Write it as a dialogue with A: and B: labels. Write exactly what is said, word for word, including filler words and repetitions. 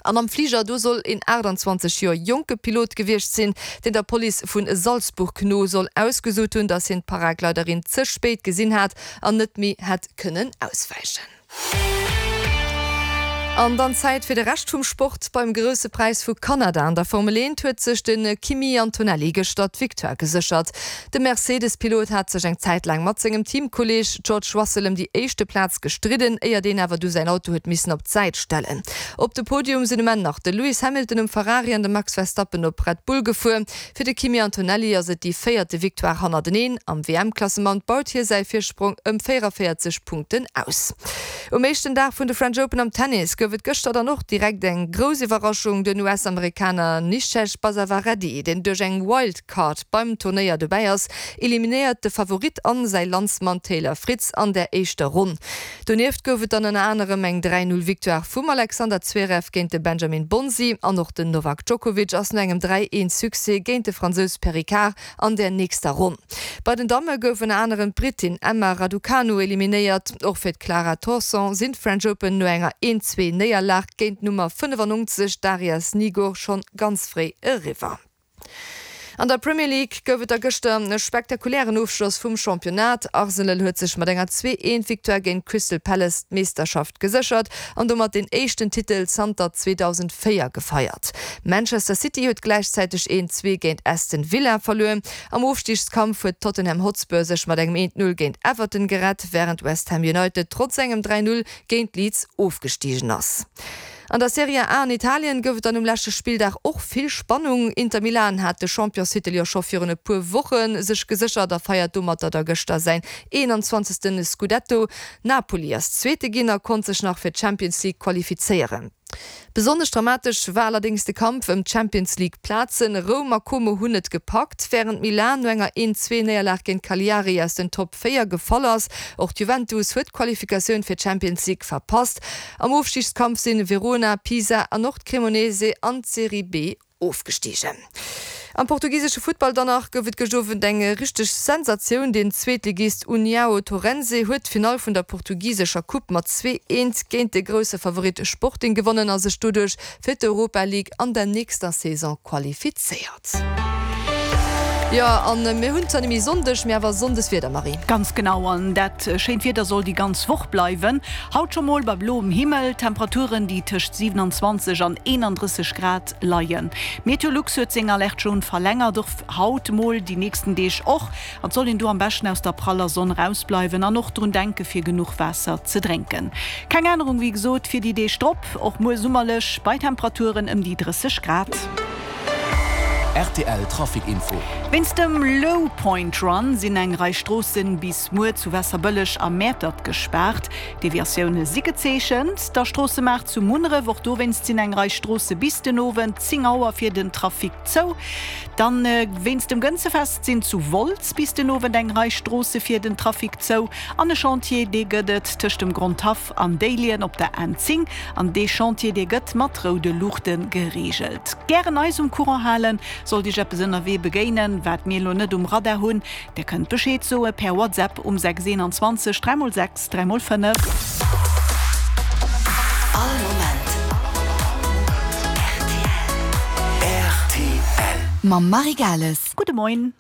A: An am Fliger, do soll een aachtanzwanzeg Joer jonke Pilot gewiescht sinn, deen der Police vu Salzburg no soll ausgesot hunn, datt hien d'Paragliderin ze spéit gesinn hat an net méi hätt kënnen auswäichen. An dann Zäit fir de Rescht vum Sport, Beim Grousse Präis vu Kanada an der Formel eent huet sech de Kimi Antonelli gëschter d'Victoire geséchert. De Mercedes-Pilot hat sech eng Zäit laang mat sengem Teamkolleeg George Russell ëm déi éischte Plaz gestridden, éier deen awer du säin Auto huet missen op d'Säit stellen. Op de Podium sinn um Enn nach de Lewis Hamilton um Ferrari an de Max Verstappen op Red Bull gefuer. Fir de Kimi Antonelli ass et déi véierte Victoire hannerteneen. Am W M-Klassement baut hie säi Virsprong ëm véieranvéierzeg Punkten aus. Um éischten Dag vun de French Open am Tennis gouf et gëschter dann och direkt eng grouss Iwwerraschung, Den U S-Amerikaner Nishesh Basavareddy, deen duerch eng Wildcard beim Turnéier dobäi ass, eliminéiert de Favorit an säi Landsmann Taylor Fritz an der éischter Ronn. Donieft gouf et dann ënner anerem eng dräi Null Victoire vum Alexander Zverev géint de Benjamin Bonzi an och den Novak Djokovic ass no engem dräi eent Succès géint de Fransous Perricard an der nächster Ronn. Bei den Damme gouf ënner anerem d'Britin Emma Raducanu eliminéiert. Och fir d'Clara Tauson sinn d'French Open no enger eent zwee Néierlag géint d'Nummer fënnefannonzeg Daria Snigur schonn ganz fréi eriwwer. An der Premier League gouf et da gëschter e spektakulären Ofschloss vum Championnat. Arsenal huet sech mat enger zwee eent Victoire géint Crystal Palace d'Meeschterschaft geséchert an domat den éischten Titel zanter zweedausendvéier gefeiert. Manchester City huet gläichzäiteg eent zwee géint Aston Villa verluer. Am Ofstigskampf huet Tottenham Hotspur sech mat engem eent null géint Everton gerett, wärend West Ham United trotz engem dräi null géint Leeds ofgestigen ass. An der Serie A an Italien gouf et dann um leschte Spilldag och vill Spannung. Inter Milan hat de Championstitel jo scho virun e puer Woche sech geséchert a feiert domatter da gëschter säin eenanzwanzegste Scudetto. Napoli ass Zweete ginn a konnt sech nach fir d'Champions League qualifizéieren. Besonnesch dramatesch war allerdéngs de Kampf ëm d'Champions League Plazen. Roum a Como hunn et gepackt, wärend Milan no enger eent zwee Néierlag géint Cagliari aus den Top véier gefall ass. Och d'Juventus huet d'Qualifikatioun fir d'Champions League verpasst. Am Ofstigskampf sinn Verona, Pisa an och d'Cremonese an d'Serie B ofgestigen. Am portugisesche Futtball dann nach gouf et gëscht Owend eng richteg Sensatioun, Den Zweetligist União Torrense huet d'Finall vun der portugisescher Coupe mat zwee eent géint de grousse Favorit Sporting gewonnen a sech doduerch fir d'Europa League an der nächster Saison qualifizéiert. Jo, an mir hunn zwar net méi Sonndeg, mee awer Sonndeswieder, Marie.
B: Ganz genau, an dat schéint Wieder soll déi ganz Woch bleiwen. Haut scho mol bei bloem Himmel, Temperaturen déi tëscht siewenanzwanzeg an eenandrësseg Grad leien. Meteolux huet seng Alerte jaune verlängert, och haut mol, déi nächsten Deeg och. An et soll een do am beschten aus der praller Sonn rausbleiwen an och drun denke fir genuch Waasser ze drénken. Keng Ännerung wéi gesot fir déi Deeg drop, och muer summerlech bei Temperaturen ëm déi drësseg Grad.
C: R T L Trafic Info.
B: Wéinst dem Low Point Run sinn eng Rei Stroossen bis muer zu Waasserbëlleg a Mäertert gespaart. Deviatioune si gezeechent. Der Stroossemaart zu Munneref, och dowéinst sinn eng Rei Stroosse bis den Owend zéng Auer fir den Trafic zou. Dann wéinst dem Gënzefest sinn zu Wolz bis den Owend eng Rei Stroosse fir den Trafic zou. An e Chantier, dee gëtt et tëscht dem Grondhaff an Déiljen op der N zéng. An dee Chantier, dee gëtt mat roude Luuchte gereegelt. Gären eis um Courant halen, sollt Iech eppes ënnerwee begéinen, wat mir elo net um Radar hunn. Dir kënnt Bescheed soe per WhatsApp um sechs eenanzwanzeg dräi mol sechs dräi mol fënnef.
D: All Moment R T L.
E: Mam Marie Gales.
B: Gudde Moien.